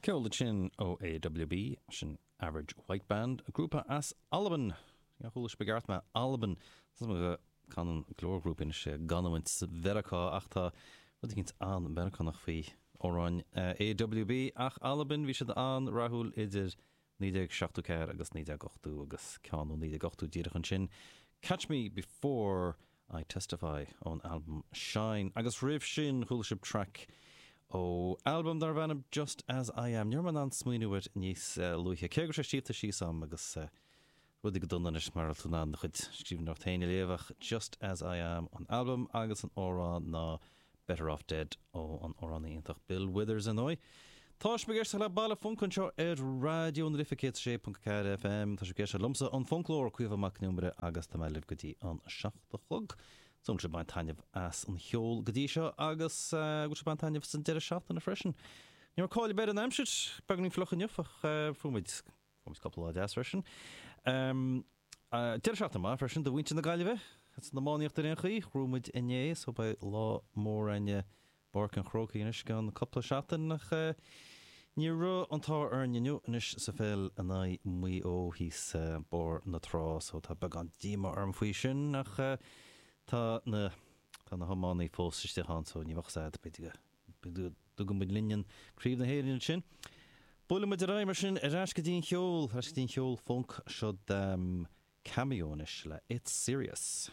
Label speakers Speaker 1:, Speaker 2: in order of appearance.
Speaker 1: Ceol ansin ó AWB, sin Average White Band, grúpa as Albain! Níor chuala sibh i gceart mé, Albain! Tá 'fhios agam go canann go leor grúpaí anois i gcanúint Mheiriceá ach tá rud eicínt an-Mheiriceánach faoi amhráin AWB ach Albain, bhí siad an-rathúil idir 1974 agus 1980 agus ceann ó 1980 díreach ansin, Catch Me Before I Testify ón albam Shine. Agus roimh sin chuala sibh traic ó albam darbh ainm Just As I Am. Ní raibh mé in ann smaoineamh air níos luaithe, cé go raibh sé scríofa síos agam agus rudaí go dona anois mar a bhfuil tú in ann do chuid scríbhneoireacht féin a léamh ach Just As I Am an albam agus an amhrán ná Better Off Dead ó an amhránaí iontach Bill Withers, ar ndóigh. Tá sibh ag éisteacht le Baile Func anseo ar Raidió na Life 106.4 FM. Tá sibh ag éisteacht liomsa, an Funclóir, Caoimhe Mac Con Iomaire, agus tá mé libh go dtí an 7 a chlog. Súil agam go bhfuil sibh ag baint taitneamh as an cheol go dtí seo agus go bhfuil sibh ag baint taitneamh as an deireadh seachtaine freisin. Ní raibh cáil ar bith ar an aimsir, beagáinín fliuch inniu ach fuair muid Fuair muid cúpla lá deas freisin. Deireadh seachtaine maith freisin do mhuintir na Gaillimhe san iománaíocht ar aon chaoi. Ghnóthaigh muid inné so beidh lá mór againn i bPáirc an Chrócaigh anois i gceann cúpla seachtain ach ní raibh an t-ádh orainn inniu anois sa pheil in aghaidh Mhaigh Eo thíos barr na trá so tá beagán díomá orm faoi sin ach tá na tá na hiománaí fós istigh ann so ní bheadh 's a'd b'fhéidir go dtugann muid linn an Craobh na hÉireann ansin. Buailfidh muid ar aghaidh mar sin ar ais go dtí an cheol, ar ais go dtí an cheol func. Seo Cameo anois le It's Serious.